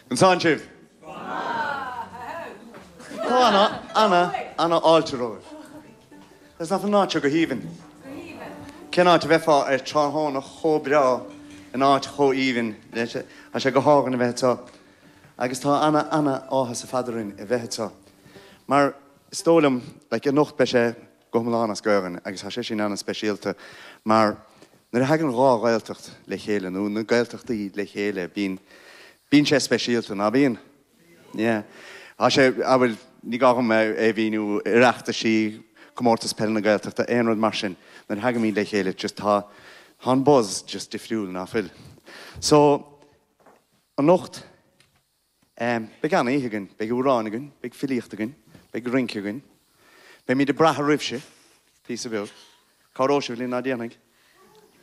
An sán sibh? Tá ana, ana, ana fháilte romhaibh. Is nach an áit seo go haoibhinn? Cén áit a bheifeá ar tráthnóna chomh breá in áit chomh haoibhinn leis? Tá sé go hálainn a bheith anseo agus tá ana, ana áthas ar fad orainn a bheith anseo mar is dóigh liom, like, anocht beidh sé go hiomlán as Gaelainn agus tá sé sin ana-speisialta mar nuair a thagann dhá Ghaeltacht le chéile nó na Gaeltachtaí le chéile bíonn, bíonn sé speisialta, ná bíonn? Yeah. Tá sé, ah bhuel, ní gá dhom é a mhíniú, Oireachtaisí, Comórtas Peile na Gaeltachta, aon rud mar sin, nuair a thagaimid le chéile just tá, tá an buzz just difriúil, ná fuil? So, anocht, em, beidh an-oíche againn, beidh amhráin againn, beidh filíocht againn, beidh rince againn, beimid ag brath oraibhse, píosa beag. Cabhróidh sibh linn, ná déanfaidh?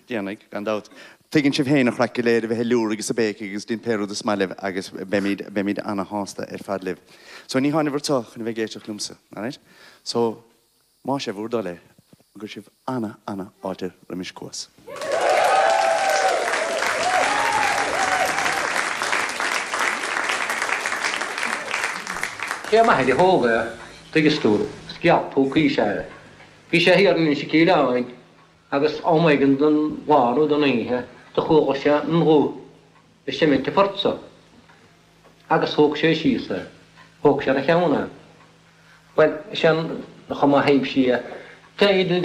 Déanfaidh, gan dabht. Tuigeann sibh féin an chraic go léir a bheith ag liúraigh is ag béicigh agus déan pé rud is maith libh agus beimid, beimid ana-shásta ar fad libh. So ní tháinabhair anseo chun a bheith ag éisteacht liomsa, alright? So, más é bhur dtoil é, an gcuirfidh sibh ana, ana fháilte roimis Cuas. Sé m'athair a thóg é, tuigeas tú, scialp púcaí is ea é. Bhí sé thiar in Inse Cíleáin agus am éigin den lá nó den oíche do chuala sé an ghuth ag seimint an phort so agus thóg sé síos é. Thóg sé ar a cheann é. Bhuel, is é an chuma a thaibhsí é.